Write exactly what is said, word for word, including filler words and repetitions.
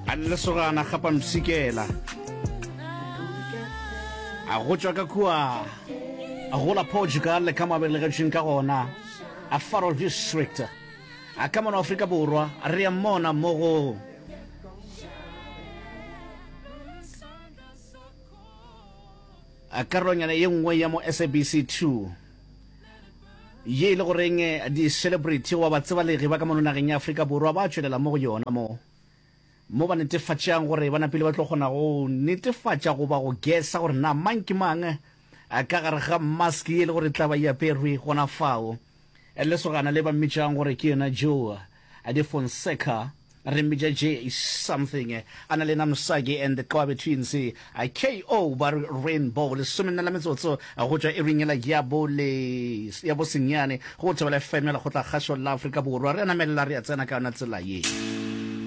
A lesogana gapa mpshikela a go tšwa ka kua go la Portugal le ka mo a belegetšweng ka gona a Faro District a ka mono Afrika Borwa. Re ya mmona mo go karolonyana ye nngwe ya mo S A B C two ye e le goreng di-celebrity goba batsebalegi ba ka mono nageng ya Afrika Borwa ba tšwelela mo go yona, mo mo ba netefatšang gore ba napile ba tlo kgona go netefatša goba go gesa gore na mang ke mang ka gare ga mask ye e le gore tla ba e aperwe gona fao. Lesogana le ba mmitšang gore ke yena Joe de Fonseca, re mmitša J something, a na le Namsaki and the Qwabe Twins, K O ba re Rainbow. Lesomenne la metsotso go tšwa iring yela ya bo le ya bo senyane go Thobela F M ya Lekgotla Kgašo la Afrika Borwa. Re a namelela, re a tsena ka yona tsela ye.